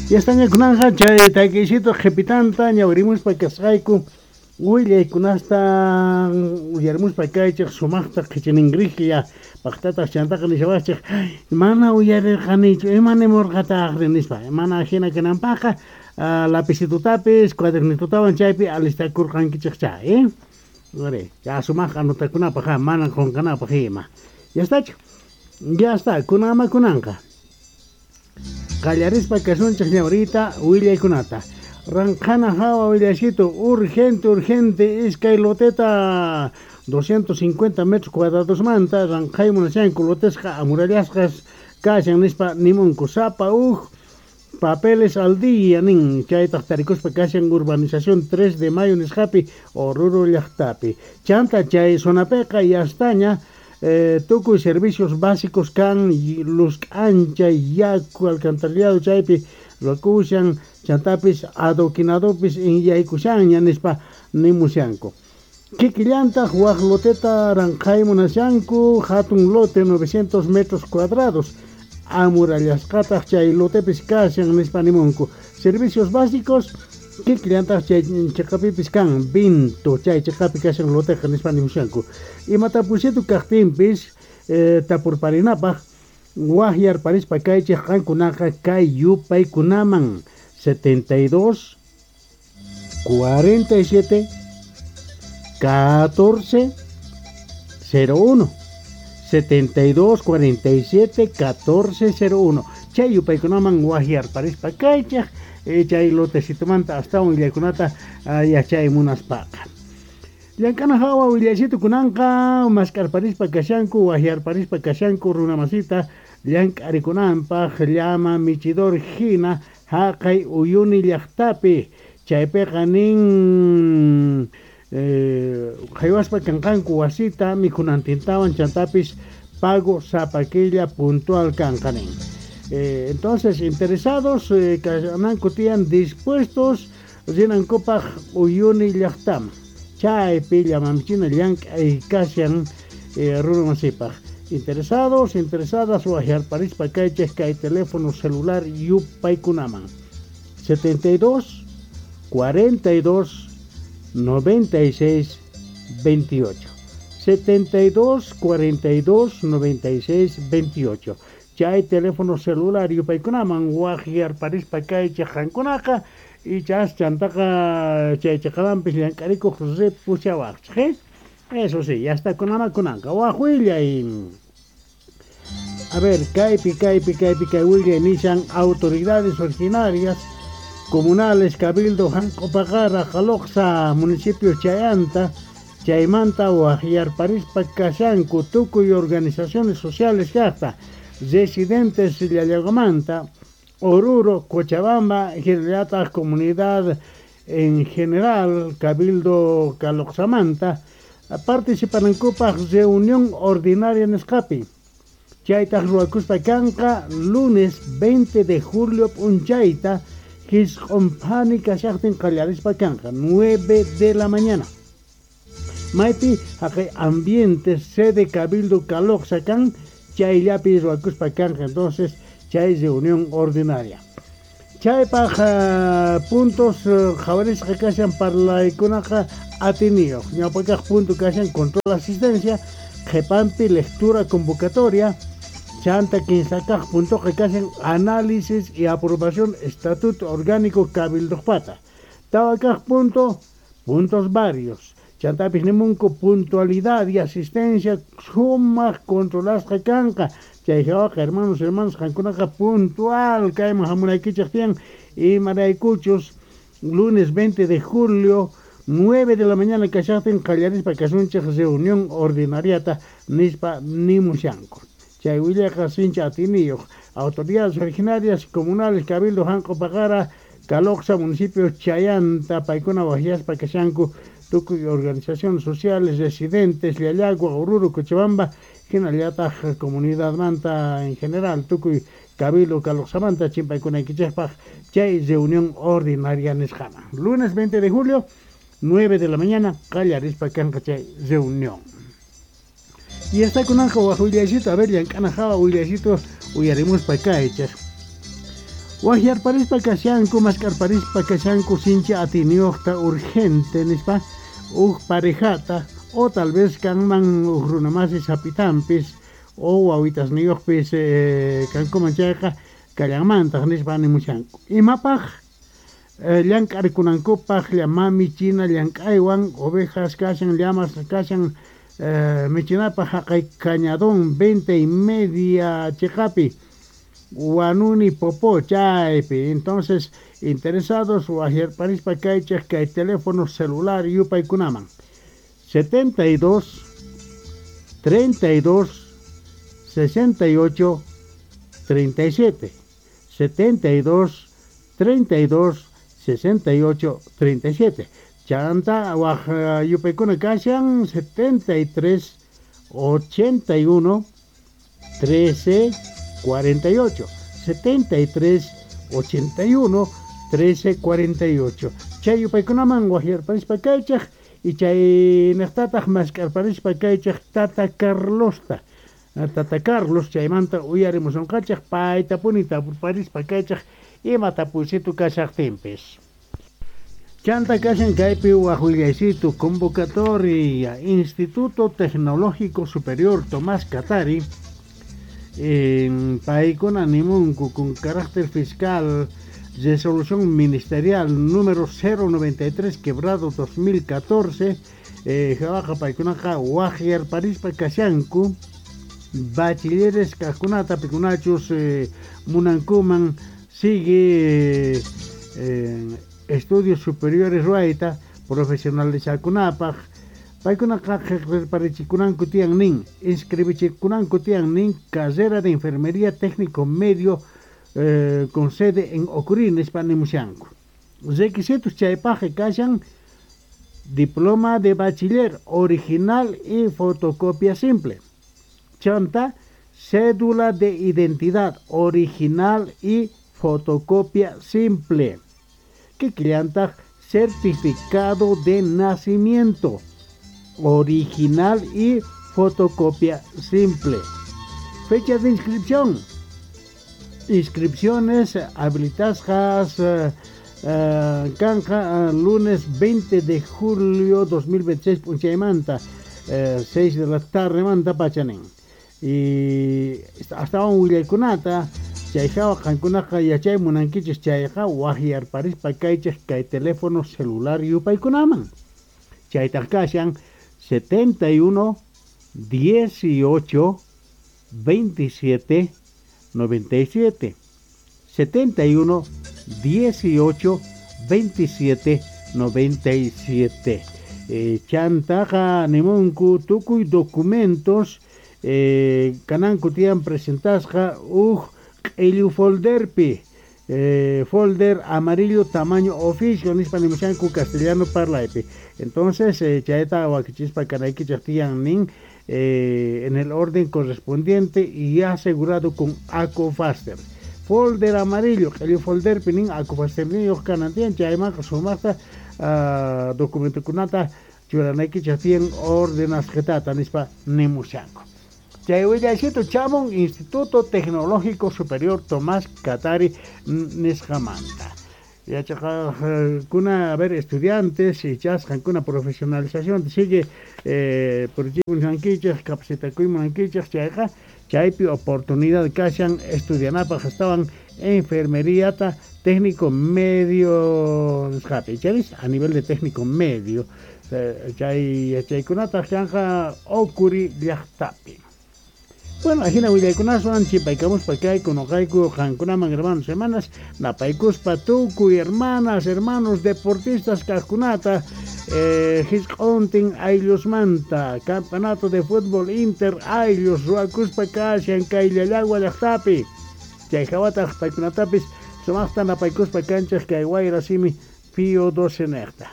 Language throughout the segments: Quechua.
Ya kunanqa chay takiysito qhipitanta ñawirimuspa kasqayku willaykunasta uyarimuspa kaychik sumaqta qhichiningriklla paqtataq chantaqa nishawaqchik mana uyarirqanichu ima nimurqataqri nispa mana hina kananpaqqa lapicitotapis cuadernitotawan chaypi alistakurqankichikcha Are, ya sumaq anotakunapaq mana qunqanapaq ima. Ya estachu. Ya está, kunama kunanqa. Qallarispa kasunchik ñawrita willaykunata. Ranqhana hawa willasito urgente, urgente, iskay loteta 250 metros cuadrados manta ranqhay munashanku lotesqa amurallasqas kashan nispa nimunku sapa uj papeles al día nin chaytaq tarikuspa kashan urbanización 3 de mayo nisqapi Oruro llaqtapi. Chanta chay zonapiqa yastaña tukuy servicios básicos kan luz k'ancha yaku alcantarillado chaypi ruwakushan chantapis adoquinadopis inyaykushanña nispa nimushanku. Kikillantaq wak loteta ranqhay munashanku hatun lote 900 metros cuadrados amurallasqataq chay lotepis kashan nispa nimunku. Servicios básicos kikillantaq chay chiqapipis kan vinto chay chiqapi kashan loteqa nispa nimushanku. Imatapusitu kaqtinpis tapurparinapaq waqyarparispa kaychik qankunaqa kay yupaykunaman 72 47 14 01 72 47 14 01 chay yupaykunaman waqyarparispa kaychik chay lotecitomanta astawan willaykunata yachay munaspaqa. Llank'ana hawa willaysitu kunanqa mask'arparispa kashanku waqyarparispa kashanku runamasita llank'arikunanpaq llama michidor hina haqay Uyuni llaqtapi chaypiqa nin haywaspa kanqanku wasita mikhunantintawan chantapis pago sapa killa puntual kanqa nin. Entonces interesados kananku tiyan dispuestos rinankupaq Uyuni llaqtaman chaypi llamamichina llank'ay kashan runamasipaq. Interesados, interesadas waqyarparispa kaychik kay teléfono celular yupaykunaman 72 42 96 28 72 42 96 28 chay teléfono celular yupaykunaman waqyarparispa kaychik qankunaqa ichas chantaqa chay chiqamanpis llank'arikuq ripushawaqchik. Eso sí, ya está kunama kunanqa waq willay. A ver, kaypi kaypi kaypi kay willay nishan autoridades originarias comunales Cabildo Janq'upaqara Jaloqsa municipio Chayanta chaymanta waqyarparispa kashanku tukuy organizaciones sociales kaqta residentes Llallagomanta Oruro, Cochabamba, hinallataq comunidad en general Cabildo Caloqsamanta participanankupaq reunión ordinaria nisqapi chaytaq ruwakuspa kanqa lunes 20 de julio p'unchayta hisq'unphani kashaqtin qallarispa kanqa 9 de la mañana. Maypi haqay ambiente sede Cabildo Caloqsa kan chayllapi ruwakuspa kanqa entonces chay reunión ordinaria. Chaypaq puntos qhawarisqa kashan parlaykunaqa atiniyuq. Ñawpakaq punto kashan control asistencia, qhipanpi lectura convocatoria, chanta kinsakaq puntoqa kashan análisis y aprobación estatuto orgánico cabildoqpata. Tawakaq punto, puntos varios. Chantapis nimunku puntualidad y asistencia sumaq controlasqa kanqa. Chay hawaqa hermanos, hermanos qankunaqa puntual kayman hamunaykichik tiyan imaraykuchus lunes 20 de julio 9 de la mañana kashaqtin qallarispa kasunchik reunión ordinariata nispa nimushanku. Chay willaqa sincha atiniyuq autoridades originarias comunales Cabildo Janq'upaqara Caloqsa municipio Chayanta paykuna waqyaspa kashanku tukuy organizaciones sociales residentes Llallagua, Oruro, Cochabamba hinallataq comunidadmanta en general tukuy Cabildo Caloqsamanta chimpaykunaykichikpaq chay reunión ordinaria nisqaman. Lunes 20 de julio 9 de la mañana qallarispa kanqa chay reunión. Y está kunanqa waq willaycito, a ver llank'ana hawa willaycito uyarimuspa kaychik. Waqyarparispa kashanku, mask'arparispa kashanku sinchi atiyniyuqta urgente nispa huk parejata o tal vez kanman huk runamasi sapitanpis o wawitasniyuqpis kankuman chayqa kallanmantaq nispa nimushanku. Imapaq llank'arikunankupaq llama michina llank'aywan ovejas kashan, llamas kashan michinapaq haqay Cañadón 20:30 chiqapi Huanuni Popó chaypi. Entonces, interesados waqyarparispa kaychik kay teléfono celular yupaykunaman 72 32 68 37, 72 32 68 37. Chanta waq yupaykuna kashan 73 81 13 48, 73 81 13 48. Chay yupaykunaman waqyarparispa kaychik y chay niqtataq mask'arparispa kaychik Tata Carlosta. Tata Carlos chaymanta uyarimusunqachik paytapuni tapurparispa kaychik ima tapuysitu kashaqtinpis. Chanta kashan kaypi waq willaysitu convocatoria Instituto Tecnológico Superior Tomás Katari paykuna nimunku con carácter fiscal resolución ministerial número 093 quebrado 2014 hawaqa paykunaqa waqyarparispa kashanku bachilleres kaqkunata pikunachus munankuman sigue estudios superiores ruwayta profesionalizakunapaq paykunaqa qillqarichikunanku tiyan nin inscribichikunanku tiyan nin carrera de enfermería técnico medio con sede en Ocurí nispa nimushanku. Requisitos chaypaqqa kashan diploma de bachiller original y fotocopia simple. Chanta cédula de identidad original y fotocopia simple. Kikillantaq certificado de nacimiento original y fotocopia simple. Fecha de inscripción. Inscripciones habilitadas kanqa lunes 20 de julio 2026 p'unchaymanta 6 de la tarde manta pachanin. Y astawan willaykunata chay hawa qankunaqa yachay munankichis chayqa waqyarparispa kaychik kay teléfono celular yupaykunaman. Chaytaq kashan 71 18 27 97, 71 18 27 97. Chantaqa nimunku tukuy documentos kananku tiyan presentasqa huk q'illu folderpi folder amarillo tamaño oficio nispa nimushanku castellano parlaypi. Entonces chayta wakichispa kanaykichik tiyan nin en el orden correspondiente y asegurado con Acofaster. Folder amarillo, q'illu folderpi nin Acofasterniyuq kanan tiyan chaymanqa sumaqta documentokunata churanaykichik tiyan ordenasqitata nispa nimushanku. Chay willaysitu chamun Instituto Tecnológico Superior Tomás Katari nisqamanta. Yachaqaqkuna, a ver, estudiantes ichasqankuna profesionalización sigue purichimunankichik capacitakuymunankichik chayqa chaypi oportunidad kashan estudianapaq astawan enfermeriata técnico medio nisqapi chayris a nivel de técnico medio chay yachaykunataq kanqa Ocurí llaqtapi. Bueno, ajina willaykunaswan chipaykamuspa kayku noqayku qankunaman hermanos hermanas napaykuspa tukuy hermanas hermanos deportistas kaqkunata hisq'untin ayllusmanta campeonato de fútbol inter ayllus ruwakuspa kashan kay Llallagua llaqtapi chay hawataq paykunatapis sumaqta napaykuspa kanchik kay wayra simi Pío 12 niqta.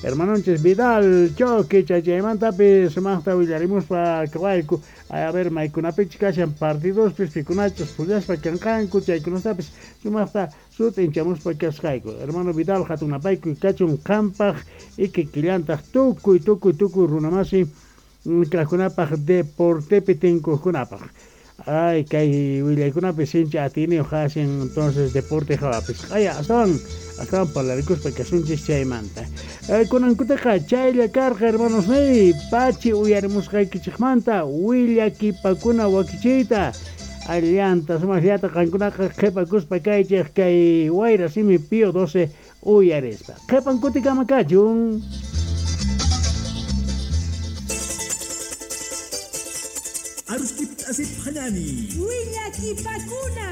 Hermanonchis Vidal Choque chaymantapis sumaqta willarimuspa kawayku a ver maykunapichus kashan partidospis pikunachus pullaspa kanqanku chaykunatapis sumaqta sut'inchamuspa kasqayku. Hermano Vidal hatun napaykuy kachun qampaq ikikillantaq tukuy tukuy tukuy runamasi kaqkunapaq deportepi tinkuqkunapaq. Ay, kay willaykunapi sinchi atiyniyuq hasin, entonces deporte hawapis. Q'aya astawan parlarikuspa kasunchis chaymanta. Kunankutaqa chaylla karqa, hermanos niy, pachi uyarimusqaykichikmanta willakipakuna wakichiyta. Allanta sumaqllata qankunaqa qhipakuspa kaychik kay Wayra Simi Pío 12 uyarispa. Qhipan kutikama kachun. Arustip asip hanani. Willakipakuna.